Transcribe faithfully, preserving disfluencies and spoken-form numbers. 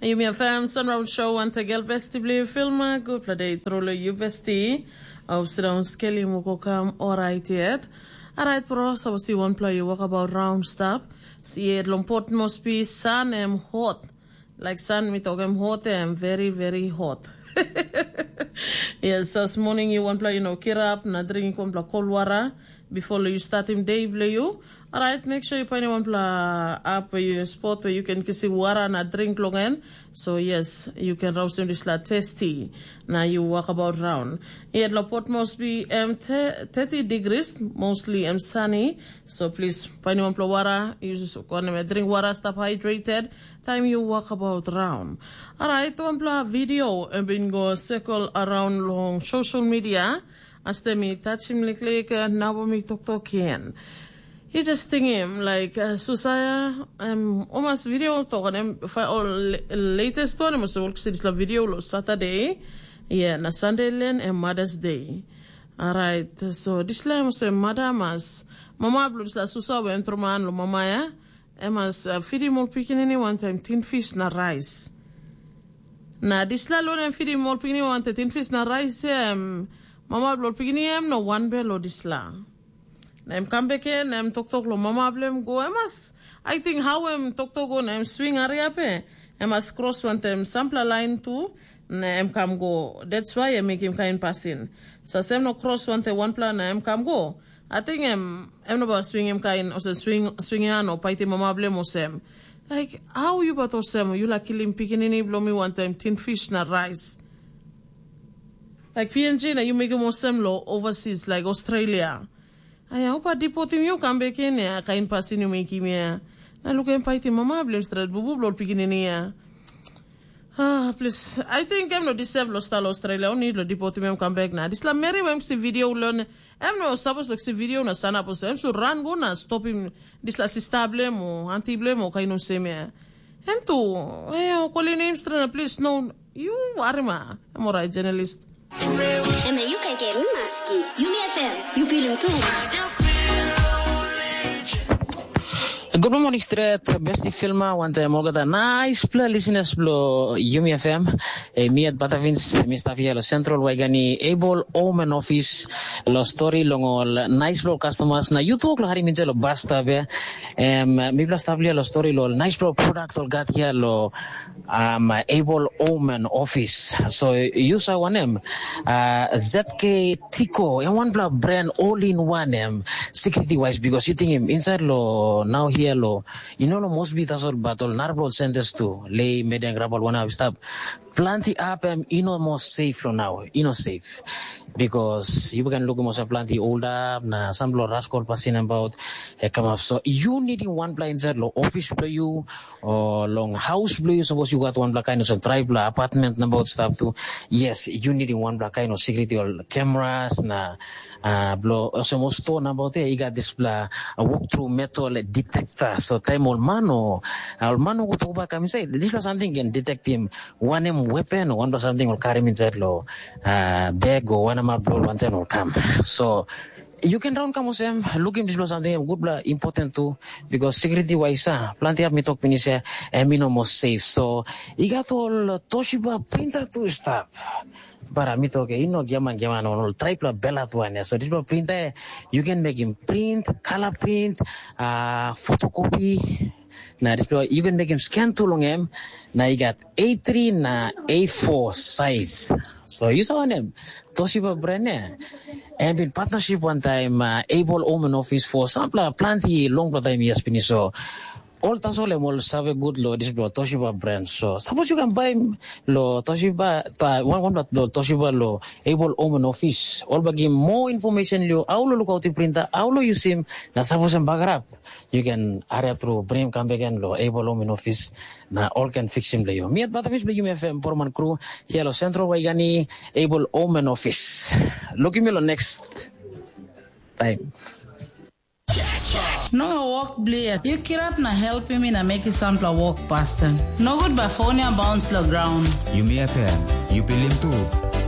Yumi FM Sunround Show wantegel besti bilong yu filma. Gutpela de tru long yu besti. Au sindaun skelim wok kam orait yet. Orait bro, sapos yu wanpela yu wokabaut raun stap, si yet long Port Moresby san em hot. Laik san mi tok em hot em very very hot. Yes, as morning yu wanpela yu no kirap na drinking wanpela kol wara before yu statim day bilong yu. Alright, make sure yu painim wanpela ap yu spot where you can kisim wara na drink long en. So yes, you can rausim dispela tasty na you walk about round. Yet lo Port Moresby em te- thirty degrees, mostly em sunny. So please painim wanpela wara, use konem drink wara, stop hydrated. Time you walk about round. Alright, wanpela video em bin go circle around long social media. As tem mi touchim liklik, nabo mi toktok yen. Yu just tingim, like, uh, Susaya, em omas video tok em fa ol latest one em ol kisi dispela video lo Saturday. Yeah, na Sunday len em Mother's Day. Alright, so dispela em se mother mas mama blo dispela Susa we em troman lo mama ya. Em mas uh, fidim ol pikinini wantaim tin fish na rice. Na dispela lo em fidim ol pikinini wantaim tin fish na rice em mama blo pikinini em no wan bel lo dispela. Na em kam bek en na em toktok long mama bilong em go em mas, I think how em toktok go na em swing hariap e, em mas kros wantaim sampela lain tu na em kam go. That's why em mekim kain pasin. Sa sem no kros wantaim wanpela na em kam go. I think em em no bai swingim kain olsem swing swing han o paitim mama bilong em olsem. Like, how yu bat olsem yu laik kilim pikinini bilong mi wantaim tin fish na rice? Like P N G na yu mekim olsem lo overseas like Australia. Aia, upa dipotim yu kam bek in ya, kain pasin yu mekim ya. Na lukim paitim mama bilong stret bubu bilong pikinini ya. Ah, plis, I think em no deserve lo sta lo Australia, oni lo dipotim em kam bek na. Dispela meri em si video lo ne, em no sapos lo si video na sanap olsem, em su ran go na stopim dispela sista bilong em o anti bilong em o kain olsem ya. Em tu, eh, o kolim nem stret na plis no, yu warima, em orait journalist. Em e yu kaikai mi maski. Yumi F M, yu pilim tu. Good morning stret, besti filma, wantaim olgeta naispela listeners blo Yumi F M. E mi at Batavins, mi stap hia lo Central Waigani Able Omen Office, lo story long ol naispela ol customers na yu tok lo harim inside lo basta be. Em, mi bla stap hia lo story lo ol naispela ol product ol gat hia lo um, Able Omen Office. So yu sa wanem, uh, Z K Tiko, em wanpela brand all in one em, security wise, because you think him inside lo now here lo, you know lo Mosby tasol but ol narapela ol centers tu, lei medeng rapal wana stap. Planti up em, you know, more safe lo now, you know, safe. Because you can look more planti old up na some lo raskol pasin about e come up. So you needing one plan inside lo office lo you, o long haus bilong yu, sapos yu gat wanpela kain olsem traipela apartment nabaut stap tu, yes, yu nidim wanpela kain ol security ol cameras na uh, bilong olsem ol store nabaut ya i gat dispela uh, walk through metal detector. So taim ol man o uh, ol man o go tokbak kam insait, dispela samting ken detectim wanem weapon o wanpela samting ol karim insait lo uh, bag o wanem ap bilong wantaim ol kam. So you can raun kam olsem, lukim dispela samting em gutpela important tu, because security wise ah, planti hap mi tok pinis ya, em i no mo safe. So i gat ol Toshiba printer tu i stap. Bara mi tok i no giaman giaman ol traipela belat wan ya. So dispela printer you can make him print, color print, uh, photocopy. Na dispela you can make him scan tu long em. Na i gat A three na A four size. So yu sa wanem? Toshiba brand ya. Em bin partnership wantaim uh, Able Omen Office for sampela planti longpela taim years pinis. So ol tasol em ol save gut lo dispela Toshiba brand. So sapos yu kan baim lo Toshiba, ta wan wanpela lo Toshiba lo Able Omen Office, ol bagim more information lo how lo lukautim printer, how lo yusim, na sapos em bagarap, you can hurry up through bring him come back and lo Able Omen Office na all can fix him lo you. Me at Batamis be you may FM Porman crew here lo Central Waigani Able Omen Office. Looking me lo next time. No wok blia, yu kirap na helpim mi na mekim sampela wok pasten. Nogut bai fon ya bauns long graun. Yumi F M, yu pilim tu.